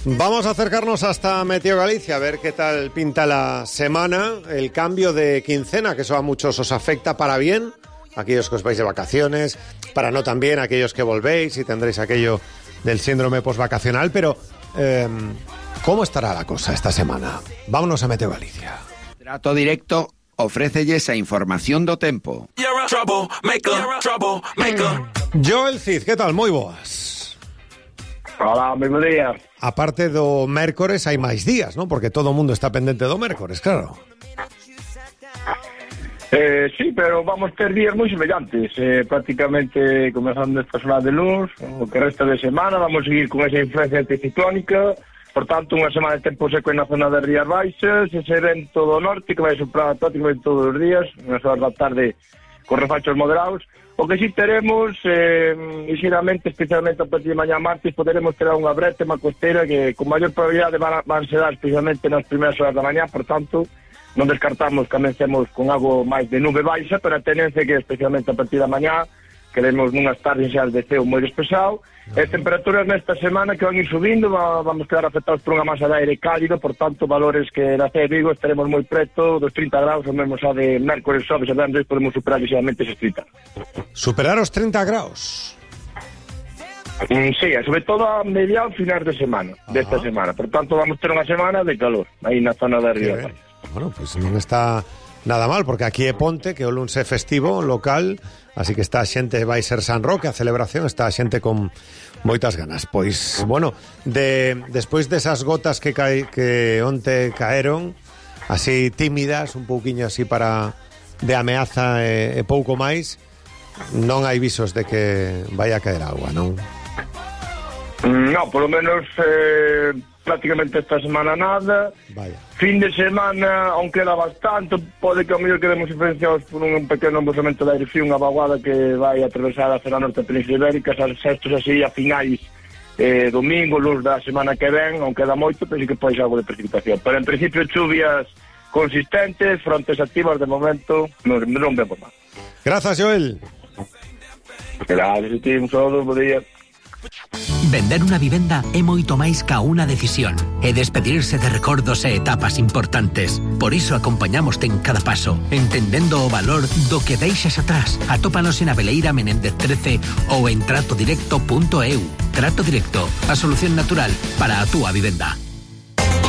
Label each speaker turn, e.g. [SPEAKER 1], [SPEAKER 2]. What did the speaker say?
[SPEAKER 1] Vamos a acercarnos hasta Meteo Galicia, a ver qué tal pinta la semana. El cambio de quincena, que eso a muchos os afecta para bien, aquellos que os vais de vacaciones, para no también aquellos que volvéis y tendréis aquello del síndrome postvacacional. Pero, ¿cómo estará la cosa esta semana? Vámonos a Meteo Galicia.
[SPEAKER 2] Trato Directo ofrécelle esa información do tempo.
[SPEAKER 1] Joel Cid, ¿qué tal? Moi boas.
[SPEAKER 3] Hola, moi bo día.
[SPEAKER 1] Aparte do mércores hai máis días, non? Porque todo o mundo está pendente do mércores, claro.
[SPEAKER 3] Sí, pero vamos ter días moi semellantes. Prácticamente comenzando esta semana de luz, o que resta de semana, vamos a seguir con esa influencia anticiclónica. Por tanto, unha semana de tempo seco na zona das Rías Baixas, ese vento do norte que vai soprar prácticamente todos os días, nas horas da tarde con refachos moderados. O que sí teremos, ligeramente, especialmente a partir de mañá martes, poderemos ter unha brétema costera que con maior probabilidade van se dar especialmente nas primeiras horas da mañá, por tanto, non descartamos que comencemos con algo máis de nube baixa, pero a tendencia que especialmente a partir da mañá queremos nunhas tardes xa de ceo moi despexado, e temperaturas nesta semana que van ir subindo, vamos quedar afectados por unha masa de aire cálido, por tanto, valores que na Cea de Vigo estaremos moi preto dos 30 graus, o mesmo xa de mércores, xoves e venres podemos superar ligeramente eses 30.
[SPEAKER 1] Superar os 30 graus?
[SPEAKER 3] Sí, sobre todo a mediados finais de semana, desta semana, por tanto, vamos ter unha semana de calor, aí na zona da Río.
[SPEAKER 1] Bueno, pues non está nada mal, porque aquí é ponte, que o luns é festivo local, así que está a xente, vai ser San Roque, a celebración, está a xente con moitas ganas. Pois, bueno, despois desas gotas que onte caeron, así tímidas, un pouquiño así de ameaza e pouco máis, non hai visos de que vai a caer agua, non?
[SPEAKER 3] No, polo menos prácticamente esta semana nada.
[SPEAKER 1] Vaya.
[SPEAKER 3] Fin de semana, aunque queda bastante, pode que ao mellor quedemos influenciados por un pequeno embosamento de aire frío, unha vaguada que vai atravesar a zona norte da Península Ibérica, estos así a finais domingo, luz da semana que ven, aunque queda moito, pero sí que pode ser algo de precipitación. Pero en principio chuvias consistentes, frontes activas de momento, non vemos mal.
[SPEAKER 1] Grazas, Joel.
[SPEAKER 3] Gracias a ti, un saludo, bo día.
[SPEAKER 4] Vender unha vivenda é moito máis ca unha decisión. É despedirse de recordos e etapas importantes. Por iso acompañamoste en cada paso, entendendo o valor do que deixas atrás. Atópanos en Abeleira Menéndez 13 ou en tratodirecto.eu. Trato Directo, a solución natural para a túa vivenda.